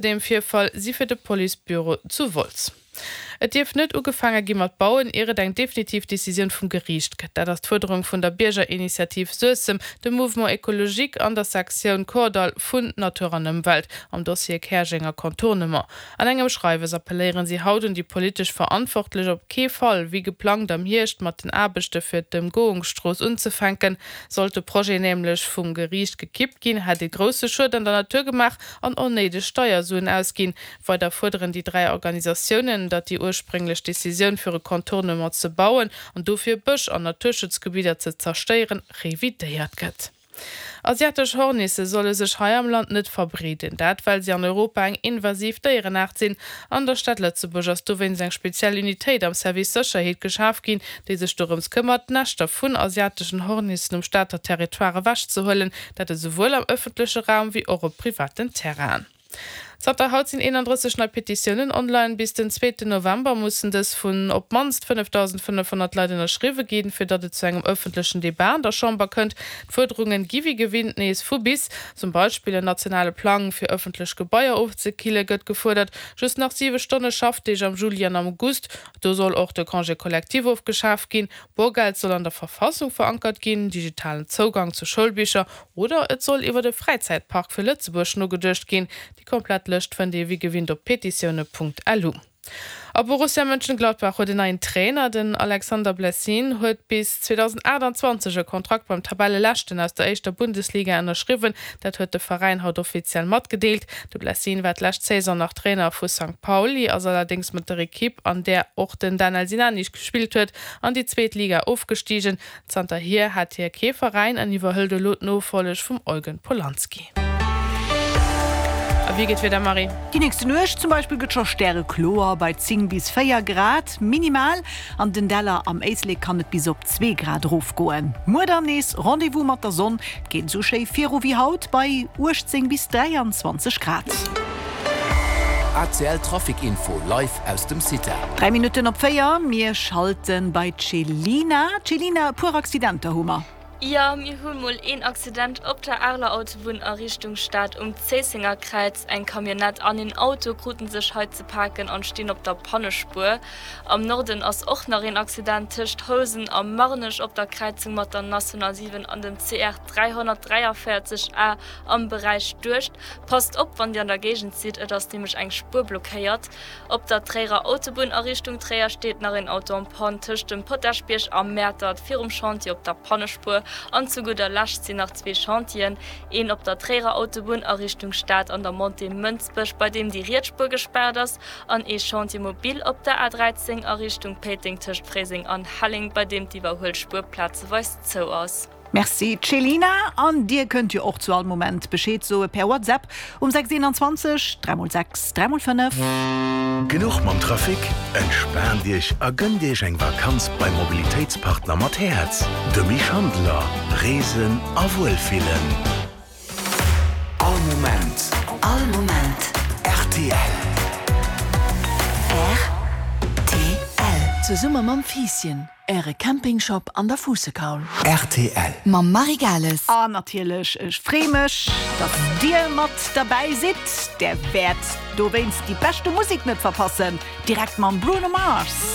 Dem Virfall si fir de Policebüro zu Wolz. Et dierf net ugefaange gi mat bauen, ier et eng definitiv Decisioun vum Geriicht gëtt. Dat ass d'Fuerderung vun der Biergerinitiativ Suessem, dem Mouvement Ecologique an der Sektioun Kordall vun Natur an Ëmwelt am Dossier Käerjenger Contournement. An engem Schreiwes appelléieren si haut un déi politesch Verantwortlech, op kee Fall wéi geplangt am Hierscht mat den Aarbechte fir d'Ëmgoungsstrooss unzefänken. Sollt de Projet nämlech vum Geriicht gekippt ginn, hätt ee grousse Schued an der Natur gemaach an onnéideg Steiersuen ausginn. Weider fuerderen déi 3 Organisatiounen, datt déi ursprénglech Decisioun fir e Contournement ze bauen an dofir Bësch an Naturschutzgebidder ze zerstéieren, revidéiert gëtt. Asiatesch Hornisse solle sech hei am Land net verbreeden. Dat well si an Europa eng invasiv Déierenaart sinn. An der Stad Lëtzebuerg ass dowéinst eng speziell Unitéit am Service Sécherheet geschaf ginn, déi sech dorëms këmmert, d'Näschter vun asiateschen Hornissen um Stater Territoire ewechzehuelen. Dat esouwuel am ëffentleche Raum wéi och op privaten Terrainen. Zanter haut sinn 31 nei Petitiounen online. Bis den zweeten November mussen dës vun op d'mannst 5.500 Leit ënnerschriwwe ginn, fir datt et zu engem ëffentlechen Debat an der Chamber kënnt. D'Fuerderungen gi wéi gewinnt nees vu bis. Zum Beispill en nationale Plang fir ëffentlech Gebaier ofzekille gëtt gefuerdert, just nach 7 Stonne Schaffdeeg am Juli an am August, do soll och de Congé collectif ofgeschaf ginn, Borgeld soll an der Verfassung verankert ginn, digitalen Zougang zu Schoulbicher oder et soll iwwert e Fräizäitpark fir Lëtzebuerg nogeduecht ginn. Déi komplett Lëscht fënnt ee wéi gewinnt op petitioune.lu. A Borussia Mönchengladbach huet en neien Trainer. Den Alexander Blessin huet bis 2028 e Kontrakt beim Tabelleleschten aus der éischter Bundesliga ënnerschriwwen. Dat huet de Veräin haut offiziell matgedeelt. De Blessin war d'lescht Saison nach Trainer vu Sankt Pauli, ass allerdéngs mat der Ekipp, an där och den Danel Sinani gespillt huet, an déi zweet Liga ofgestigen. Zanterhier hat hie kee Veräin an iwwerhëlt elo d'Nofolleg vum Eugen Polanski. A wéi geet d'Wieder, Marie? Déi nächste Nuecht zum Beispill gëtt scho stärekloer bei 10 bis 4 Grad minimal. An den Däller am Éislek kann et bis op 2 Grad erofgoen. Muer dann nees Rendez-vous mat der Sonn, et geet esou schéi viru wéi haut bei 18 bis 23 Grad. ACL Trafic Info live aus dem CITA. 3 Minutten op 4, mir schalten bei d'Chelina. Chelina, e puer Accidenter hu mer. Jo, mir hu mol een Accident op der Areler Autobunn a Richtung Stad um Zéissenger Kräiz. Eng Camionnette an een Auto kruten sech hei ze paken an stinn op der Pannespuer. Am Norden ass och nach een Accident tëscht Housen a Marnech op der Kräizung mat der National 7 an dem CR 343 A am Beräich Duerscht. Passt op wann dir an der Géigend sidd, et ass nämlech eng Spuer blockéiert. Op der Tréierer Autobunn a Richtung Tréier steet nach een Auto en panne tëscht dem Potaschbierg a Mäertert virum Chantier op der Pannespuer. An zu gudder Lescht sinn nach zwee Chantieren, een op der Tréierer Autobunn a Richtung Stad an der Montée Mënsbech, bei deem déi riets Spuer gespaart ass, an ee Chantier mobile op der A13 a Richtung Péiteng tëscht Fréiseng an Helleng, bei deem d'Iwwerhuelspuer plazeweis zou ass. Merci Chelina, an dir kënnt jo och zu all Moment Bescheed soe per WhatsApp um 6 21 3 x 6 3 x 5. Genuch mam Trafic? Entspaant Iech a gënnt Iech eng Vakanz beim Mobilitéitspartner mat Häerz, de Mich Handeler. Reesen a Wuelfillen. All Moment. All Moment. Rtl. Rtl. Zesumme mam Fiisschen, Äre Campingshop an der Fuussekaul. Rtl. Mam Marie Gales. An natierlech, ech free mech, dass Dir mat derbäi sidd. Där wäert dowéinst déi beschte Musek net verpassen, direkt mam Bruno Mars.